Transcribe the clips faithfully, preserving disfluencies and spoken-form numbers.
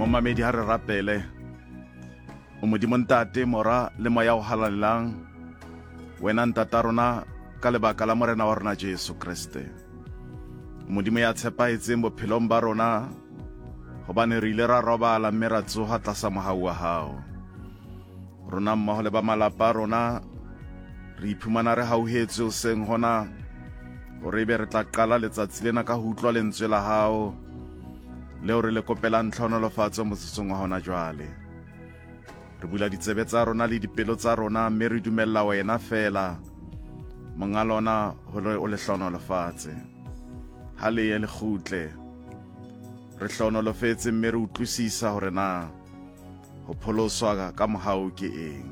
Momamedi, ha re rapele. O Modimo Ntate, Mora le Moya o Halalelang, wena Ntata rona ka lebaka la Morena wa rona Jesu Kreste. Modimo ya tshepahetseng bophelong ba rona, hobane re ile ra robala mme ra tsoha tlasa mohau wa hao. Rona mmoho le ba malapa a rona re iphumana re hauhetswe hoseng hona hore ebe re tla qala letsatsi lena ka ho utlwa lentswe la hao leo re le kopelang tlhonolofatso motsotsong wa hona jwale. Re bula ditsebe tsa rona le dipelo tsa rona mme re dumella wena fela monga lona hore o le hlonolofatse. Ha le ye le kgutle re hlonolofetse mme re utlwisisa hore na ho pholoswa ka mohau ke eng.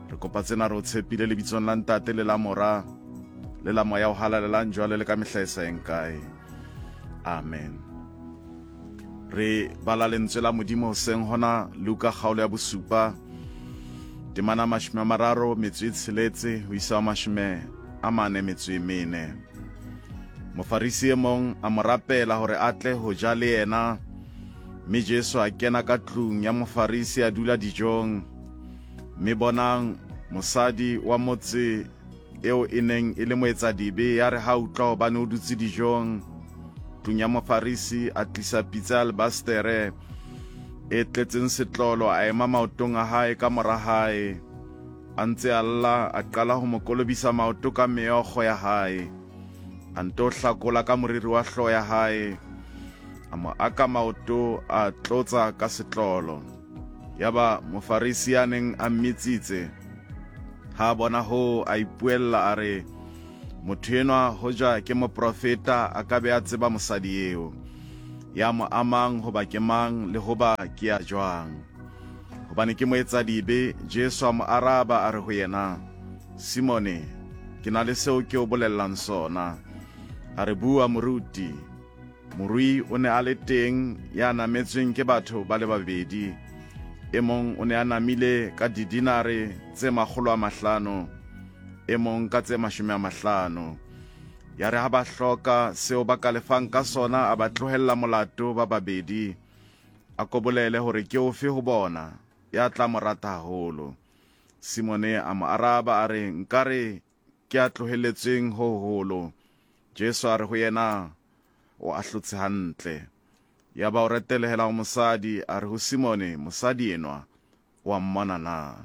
Re kopa tsena re o tshepile lebitsong la Ntate le la Mora le la Moya o Halalelang jwale le ka mehla e sa yeng kae. Amen. Re bala lentswe la Modimo hoseng hona, Luka kgaolo ya bosupa temana mashome a mararo metso e tsheletse ho isa ho mashome a mane metso e mene. Mofarisi e mong a mo rapela hore a tle ho ja le yena, mme Jesu a kena ka tlung ya Mofarisi a dula dijong. Mme bonang, mosadi wa motse eo e neng e le moetsadibe ya re ha utlwa hobane o dutse dijong tlung ya Mofarisi, a tlisa pitsa ya albastere e tletseng setlolo, a ema maotong a hae ka mora hae, a ntse a lla, a qala ho mo kolobisa maoto ka meokgo ya hae, a nto hlakola ka moriri wa hlooho ya hae, a mo aka maoto, a tlotsa ka setlolo. Yaba Mofarisi ya neng a mmitsitse ha a bona hoo, a ipuella a re, motho enwa hoja ke moprofeta a ka be a tseba mosadi eo ya mo amang hoba ke mang le hoba ke ya jwang, hobane ke moetsadibe. Jesu a mo araba a re ho yena, Simone, ke na le seo ke o bolellang sona. A re, bua moruti. Morui o ne a le teng ya nametsweng ke batho ba le babedi. E mong o ne a namile ka didinare tse makgolo a mahlano, e mong ka tse mashome a mahlano. Ya re ha ba hloka seo ba ka lefang ka sona, a ba tlohella molato ba babedi. A ko bolele hore ke ofe ho bona ya tla mo rata haholo. Simone a mo araba a re, nkare ke a tlohelletsweng ho hoholo. Jesu a re ho yena, o ahlotse hantle. Yaba o retelehela ho mosadi, a re ho Simone, mosadi enwa o a mmona na?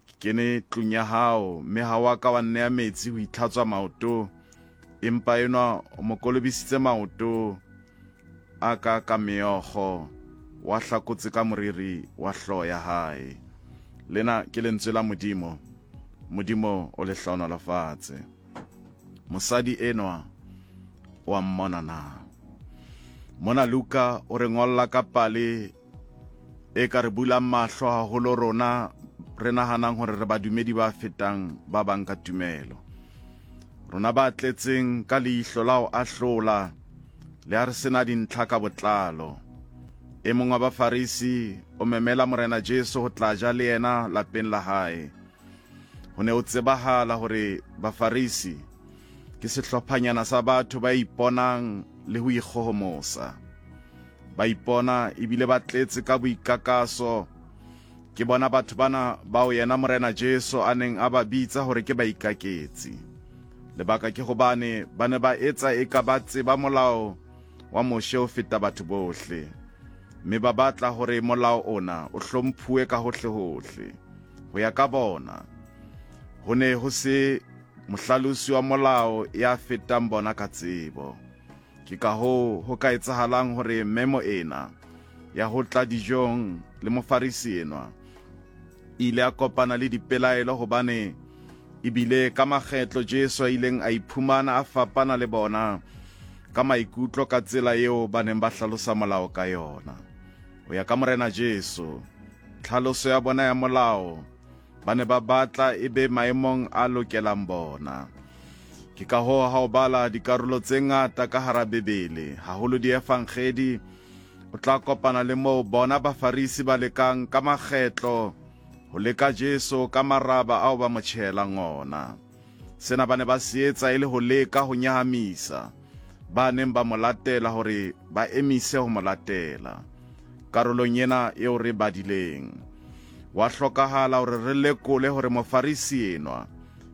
Ke kene tlung ya hao, mme ha wa ka wa nnea metsi ho itlhatswa maoto, empa enwa o mo kolobisitse maoto a ka ka meokgo, wa hlakotse ka moriri wa hlooho ya hae. Lena ke lentswe la Modimo. Modimo o le hlohonolofatse. Mosadi enwa o a mmona na? Mona Luka o re ngolla ka pale e ka re bulang mahlo haholo rona re nahanang hore re badumedi ba fetang ba bang ka tumelo. Rona ba tletseng ka leihlo la ho ahlola le ha re sena dintlha ka botlalo. E mong wa Bafarisi o memela Morena Jesu ho tla ja le yena lapeng la hae. Ho ne ho tsebahala hore Bafarisi ke sehlophanyana sa batho ba iponang le ho ikgohomosa. Ba ipona ebile ba tletse ka boikakaso. Ke bona batho bana bao yena Morena Jesu a neng a ba bitsa hore ke baikaketsi. Lebaka ke hobane ba ne ba etsa eka ba tseba molao wa Moshe ho feta batho bohle, mme ba batla hore molao ona o hlomphuwe ka hohle-hohle. Ho ya ka bona, ho ne ho se mohlalosi wa molao ya fetang bona ka tsebo. Ke ka hoo ho ka etsahalang hore memo ena ya ho tla dijong le Mofarisi enwa ile a kopana le dipelaelo, hobane ebile ka makgetlo Jesu a ileng a iphumana a fapana le bona ka maikutlo ka tsela eo ba neng ba hlalosa molao ka yona. Ho ya ka Morena Jesu, tlhaloso ya bona ya molao ba ne ba batla e be maemong a lokelang bona. Ke ka hoo ha o bala dikarolo tse ngata ka hara Bibele, haholo diefangedi, o tla kopana le moo bona Bafarisi ba lekang ka makgetlo ho leka Jesu ka maraba ao ba mo tjhehelang ona. Sena ba ne ba se etsa e le ho leka ho nyahamisa ba neng ba mo latela hore ba emise ho mo latela. Karolong ena eo re badileng, wa hlokahala hore re lekole hore Mofarisi enwa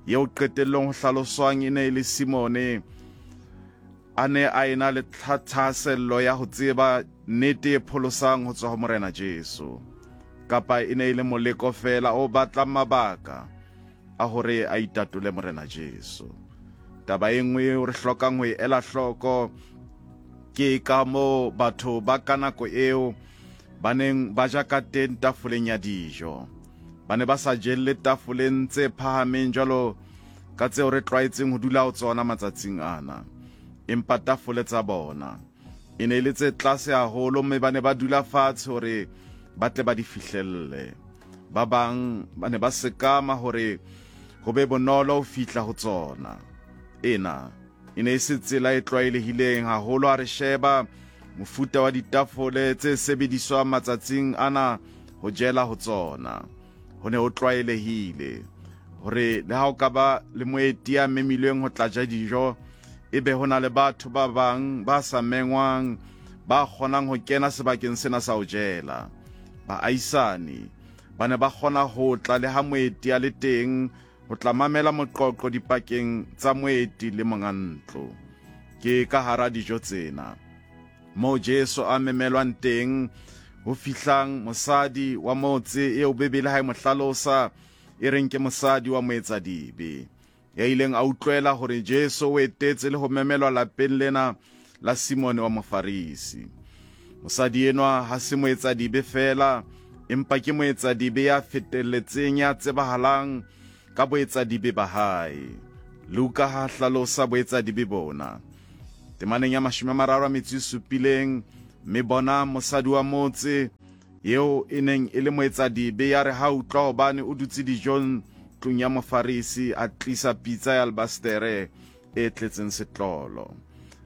eo qetellong ho hlaloswang e ne e le Simone a ne a ena le thahasello ya ho tseba nnete e pholosang ho tswa ho Morena Jesu, kapa e ne e le moleko feela o batlang mabaka a hore a itatole Morena Jesu. Taba e nngwe eo re hlokang ho e ela hloko ke ka moo batho ba ka nako eo ba neng ba ja ka teng tafoleng ya dijo. Ba ne ba sa jelle tafoleng tse phahameng jwalo ka tseo re tlwaetseng ho dula ho tsona matsatsing ana, empa tafole tsa bona e ne e le tse tlase haholo, mme ba ne ba dula fatshe hore ba tle ba di fihlelle. Ba bang ba ne ba sekama hore ho be bonolo ho fihla ho tsona. Ena e ne e se tsela e tlwaelehileng haholo ha re sheba mofuta wa ditafole tse sebediswang matsatsing ana ho jela ho tsona. Ho ne ho tlwaelehile hore le ha o ka ba le moeti ya memilweng ho tla ja dijo, ebe ho na le batho ba bang ba sa mengwang ba kgonang ho kena sebakeng sena sa ho jela. Baahisani ba ne ba kgona ho tla le ha moeti a le teng ho tla mamela moqoqo dipakeng tsa moeti le monga ntlo. Ke ka hara dijo tsena moo Jesu a memelwang teng ho fihlang mosadi wa motse eo Bibele ha e mo hlalosa e reng ke mosadi wa moetsadibe, ya ileng a utlwela hore Jesu o etetse le ho memelwa lapeng lena la Simone wa Mofarisi. Mosadi enwa ha se moetsadibe feela, empa ke moetsadibe ya fetelletseng, ya tsebahalang ka boetsadibe ba hae. Luka ha hlalosa boetsadibe bona temaneng ya mashome a mararo a metso e supileng, mme bona mosadi wa motse eo e neng e le moetsadibe ya re ha utlwa hobane o dutse dijong tlung ya Mofarisi, a tlisa pitsa ya albastere e tletseng setlolo.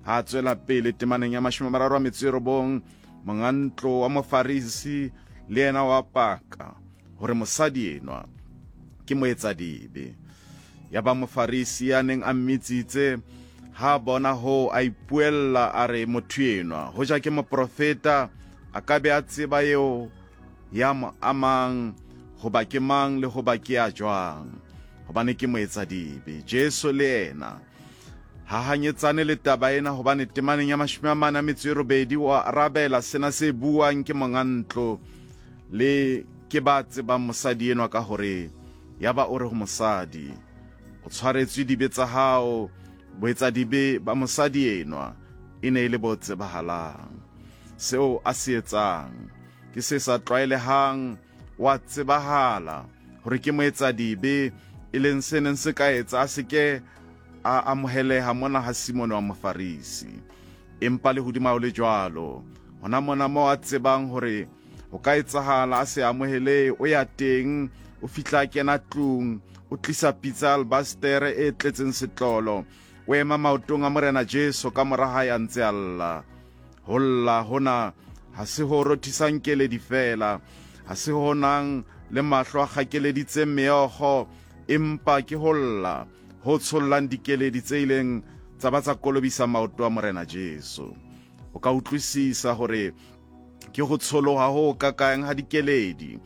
Ha tswela pele temaneng ya mashome a mararo a metso e robong, monga ntlo wa Mofarisi le yena wa paka hore mosadi enwa ke moetsadibe. Ya ba Mofarisi ya neng a mmitsitse ha bona ho a ipuella a re, motho enwa hoja ke moprofeta a ka be a tseba eo ya mo amang hoba ke mang le hoba ke ya jwang, hobane ke moetsadibe. Jesu le yena ha hanyetsane le taba ena, hobane temaneng ya mashome a mane a metso e robedi o arabela sena se buang ke monga ntlo le ke ba tsebang mosadi enwa ka hore ya ba o re ho mosadi, o tshwaretswe dibe tsa hao. Boetsadibe ba mosadi enwa e ne e le bo tsebahalang. Seo a se etsang ke se sa tlwaelehang, wa tsebahala hore ke moetsadibe, e leng se neng se ka etsa a se ke a amoheleha mona ha Simone wa Mofarisi. Empa le hodima ho le jwalo, hona mona moo a tsebang hore ho ka etsahala a se amohele, o ya teng, o fihla a kena tlung, o tlisa pitsa albastere e tletseng setlolo, o ema maotong a Morena Jesu ka mora hae a ntse a lla. Ho lla hona ha se ho rothisang keledi feela, ha se ho nang le mahlo a kgakeleditseng meokgo, empa ke ho lla ho tshollang dikeledi tse ileng tsa ba tsa kolobisa maoto a Morena Jesu. O ka utlwisisa hore ke ho tsholoha ho kakang ha dikeledi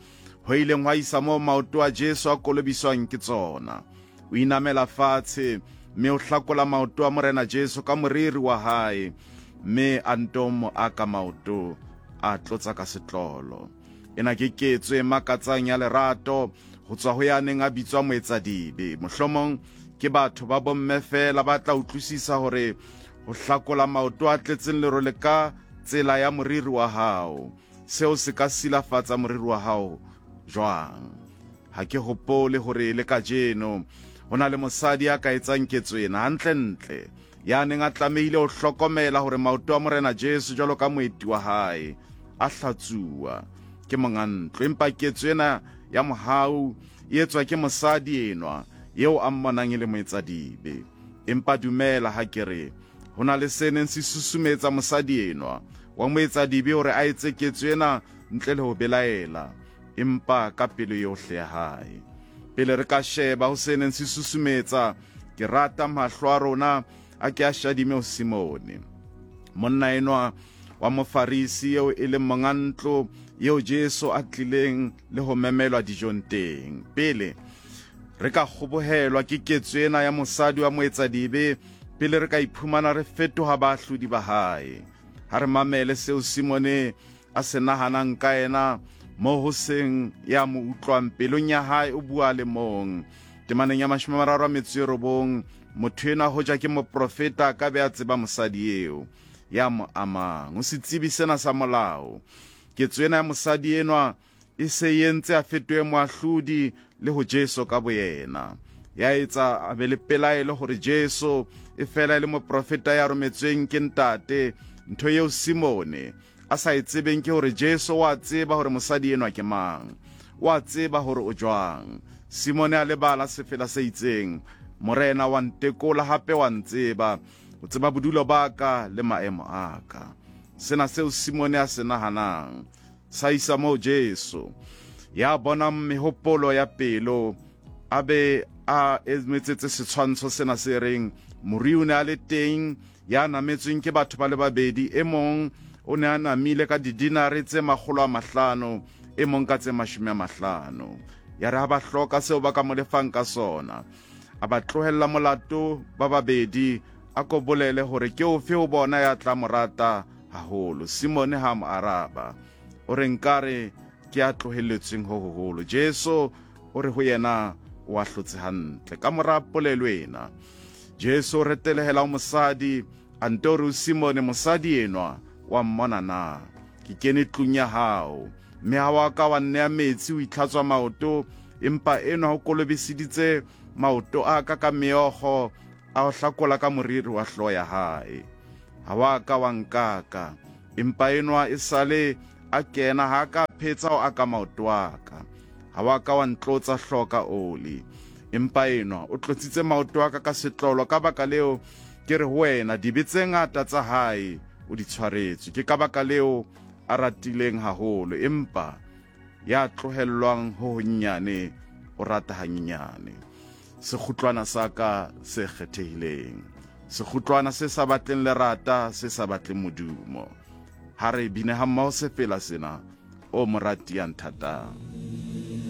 ho ileng hwa isa moo maoto a Jesu a kolobiswang ke tsona. O inamela fatshe mme o hlakola maoto a Morena Jesu ka moriri wa hae, mme a nto mo aka maoto a tlotsa ka setlolo. Ena ke ketso e makatsang ya lerato ho tswa ho ya neng a bitswa moetsadibe. Mohlomong ke batho ba bomme feela ba tla utlwisisa hore ho hlakola maoto a tletseng lerole ka tsela ya moriri wa hao, seo se ka silafatsa moriri wa hao jwang. Ha ke hopole hore le kajeno ho na le mosadi ya ka etsang ketso ena hantlentle, ya neng a tlamehile ho hlokomela hore maoto a Morena Jesu jwalo ka moeti wa hae a hlatsuwa ke monga ntlo. Empa ketso ena ya mohau e etswa ke mosadi enwa eo a mmonang e le moetsadibe. Empa dumela ha ke re ho na le se neng se susumetsa mosadi enwa wa moetsadibe hore a etse ketso ena ntle le ho belaela, empa ka pelo yohle ya hae. Pele re ka sheba ho se neng se susumetsa, ke rata mahlo a rona a ke a shadime ho Simone. Monna enwa wa Mofarisi eo e leng monga ntlo eo Jesu a tlileng le ho memelwa dijong teng. Pele re ka kgobohelwa ke ketso ena ya mosadi wa moetsadibe, pele re ka iphumana re fetoha baahlodi ba hae. Ha re mamele seo Simone a se nahanang ka yena, mo ho seng ya mo utlwang pelong ya hae o bua le mong. Temaneng ya mashome a mararo a metso e robong, motho enwa hoja ke moprofeta a ka be a tseba mosadi eo ya mo amang. O setsebi sena sa molao. Ketso ena ya mosadi enwa e se e entse a fetohe moahlodi le ho Jesu ka boyena. Ya etsa a be le pelaelo hore Jesu e fela e le moprofeta ya rometsweng ke ntate. Ntho eo Simone a sa e tsebeng ke hore Jesu wa tseba hore mosadi enwa ke mang, wa tseba hore o jwang. Simone a lebala sefela se itseng, Morena wa ntekola hape wa ntseba, o tseba bodulo ba ka le maemo a ka. Sena seo Simone a se nahanang sa isa moo Jesu ya bonang mehopolo ya pelo a be a emetsetse setshwantsho sena se reng morui o ne a le teng ya nametsweng ke batho ba le babedi, e mong o ne a namile ka didinare tse makgolo a mahlano, e mong ka tse mashome a mahlano. Ya re ha ba hloka seo ba ka mo lefang ka sona, a ba tlohella molato ba babedi, a ko bolele hore ke ofe ho bona ya tla mo rata haholo. Simone ha mo araba, o re nkare ke a tlohelletsweng ho hoholo. Jesu o re ho yena o ahlotse hantle. Ka mora polelo ena, Jesu o retelehela ho mosadi, a nto re ho Simone, mosadi enwa wa mmona na? Ke kene tlung ya hao, mme ha wa ka wa nnea metsi ho itlhatswa maoto, empa enwa o kolobiseditse maoto a ka ka meokgo, a o hlakola ka moriri wa hlooho ya hae. Ha wa ka wa nkaka, empa enwa e sale a kena ha ka phetsa ho aka maoto a ka. Ha wa ka wa ntlotsa hlooho ka oli, empa enwa o tlotsitse maoto a ka ka setlolo. Ka baka leo ke re ho wena, dibe tse ngata tsa hae o di tshwaretswe. Ke ka baka leo a ratileng haholo, empa ya tlohellwang ho honnyane o rata hanyenyane. Sekgutlwana sa ka se kgethehileng, sekgutlwana se sa batleng lerata, se sa batleng modumo. Ha re bine ha mmoho sefela sena, o morati ya nthatang.